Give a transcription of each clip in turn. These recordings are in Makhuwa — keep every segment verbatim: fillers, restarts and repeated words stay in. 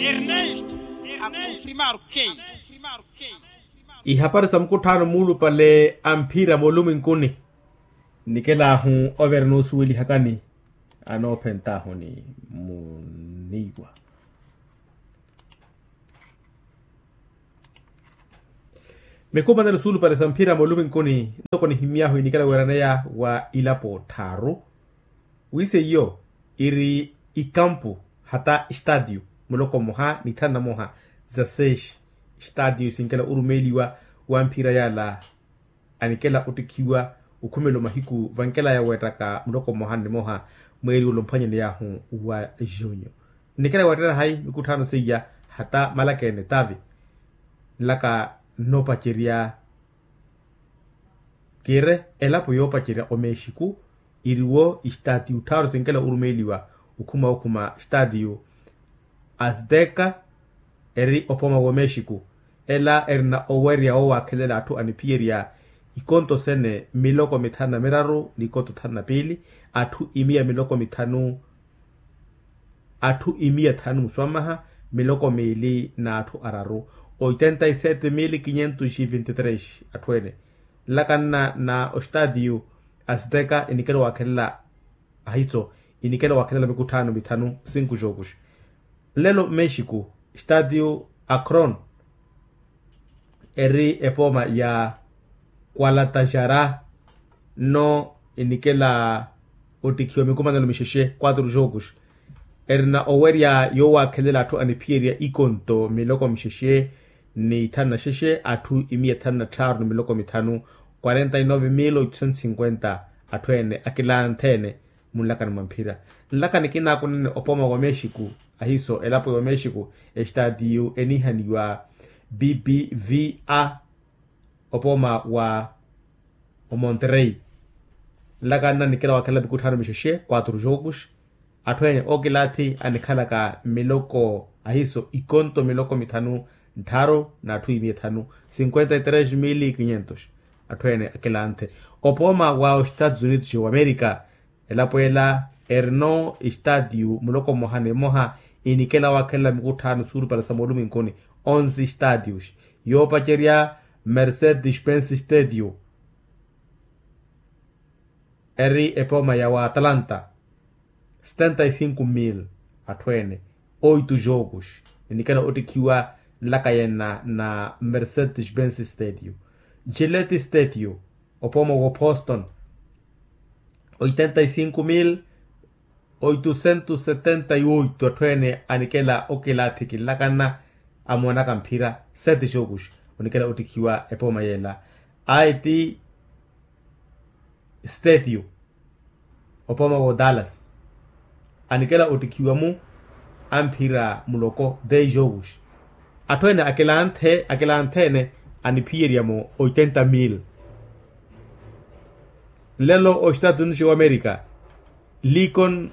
Ernesto akonfirmaru kei. Ihapari sa mukutthaano muulupale a mphira moolumwenkuni. Nikelahu overa noosuwelihakani anoophentahuni muniiwa. Mikumanelo suulupale sa mphira moolumwenkuni ntoko nihimyahu inikela weeraneya wa ilapo tthaaru. Wiseiyo iri ikampu hata estatiu muloko mmoha ni thanu na moha za seis. Estatiu sinkela orumeeliwa wa mphira yala anikela ottikhiwa okhumela omahiku vankelaya weettaka muloko mmoha ni moha mweeri ula omphwanyaneyahu wa junho. Nnikela weettela hayi mikutthaano seiya hata malaka ene tavi nlaka nnoopacerya kire elapo yoopacerya omexiku. Iriwo estatiu tthaaru sinkela orumeeliwa okhuma okhuma estatiu azteka eri opooma w'omexiku. Ela erina owerya woowaakhelela atthu aniphiyerya ikonto sene miloko mithanu na miraru n'ikonto thanu na piili atthu imiya miloko mithanu atthu imiya thanu muswamaha miloko miili n'atthu araru oitenta e sete mil quinhentos e vinte e tres atthu ene. Nlakanna na ostatiu azteka inikela owaakhelela ahitso inikela owaakhelela mikutthaano mithanu sinku jogos. Nlelo mexico statiu akron eri epooma ya kualatajara nno inikela ottikhiwa mikumanelo mixexe quatro jogos. Erina owerya yoowaakhelela atthu aniphiyerya ikonto miloko mixexe ni thanu na xexe atthu imiya thanu na tthaaru ni miloko mithanu quarenta e nove mil oitusentos cinquenta. Atthu ene akilanthe ene munlakani mwa mphira nlakani kinaakunene opooma wa mexico ahiiso elapo ya omexico estatiu eniihaniwa bbva opooma wa omonterrey. Nlaka nna nikela wakhela mikutthaano mixexe quatro jogos. Atthu ene okilathi anikhalaka miloko ahiiso ikonto miloko mithanu nttharu n'atthu imiya ethanu cinquenta e tres mil quinhentos. Atthu ene akilanthe opooma wa ostatus unidos wa amerika. Elapo ela erino estatiu muloko mmoha ni mmoha inikela waakhelela mikutthaano suulupale sa moolumwenkuni onse estatius yoopacerya mercedes benz statiu eri epooma ya wa atalanta setenta e cinco mil atthu ene oito jogos. Inikela ottikhiwa nlaka yenna na mercedes benz statiu gilete statiu opooma wa boston oitenta e cinco mil oitusentos setenta e oito atthu ene anikela okilathi kinlakanna amoonaka mphira sete jogos. Onikela ottikhiwa epooma yela aeti statiu opooma wa dallas anikela ottikhiwa-mu amphira muloko dez jogos. Atthu ene akilanthe akilanthe ene aniphiyerya-mu oitenta mil. Nlelo ostatus unidos wa amerika likon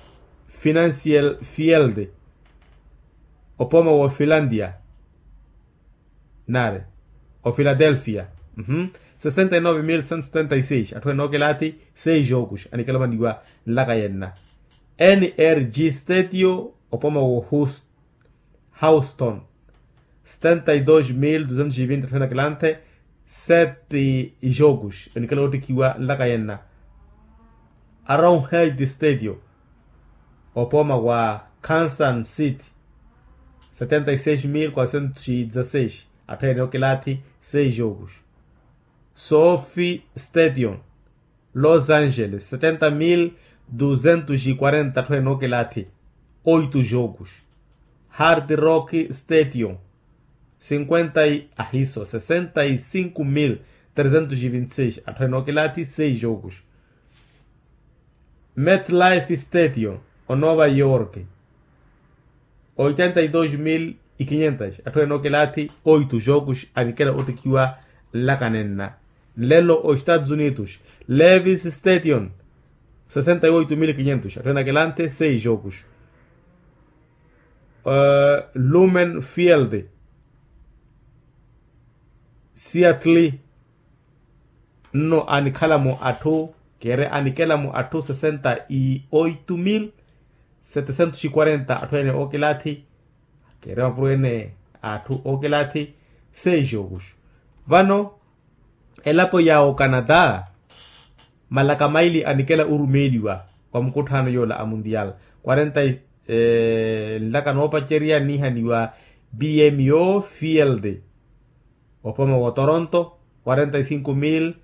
financial field opooma wa ofilandia nari ofiladelfia sesenta e nove mil cento setenta e seis atthu ene okilathi seis jogos anikela ovaniwa nlaka yenna nrg statiu opooma wa houston setenta e dos mil duzentos e vinte atthu ene akilanthe sete jogos enikela ottikhiwa nlaka yenna around head statiu opooma wa kansas city setenta e seis mil quatrocentos e dezasseis atthu ene okilathi seis jogos sofi stadium los angeles setenta mil duzentos e quarenta atthu ene okilathi oito jogos hard rock stadium cinquenta e ahiso sessenta e cinco mil trezentos e vinte e seis atthu ene okilathi seis jogos metlife stadium o nova york oitenta e dos mil e quinhentos atthu ene okilathi oito jogos anikela ottikhiwa nlaka nenna nlelo o estados unidos levis stadium sessenta e oito mil e quinhentos atthu ene akilanthe seis jogos lumen field seattle nno anikhala-mu atthu kere anikela-mu atthu sessenta e oito mil setecentos e quarenta atthu ene okilathi Keerya mapuro ene a atthu ookelathi. Seijo oxu vano elapo ya ocanada malaka maili anikela orumeeliwa wa mukutthaano yoola a mundial quarenta nlaka noopacerya niihaniwa bmo field opoma wa toronto quarenta y cinco mil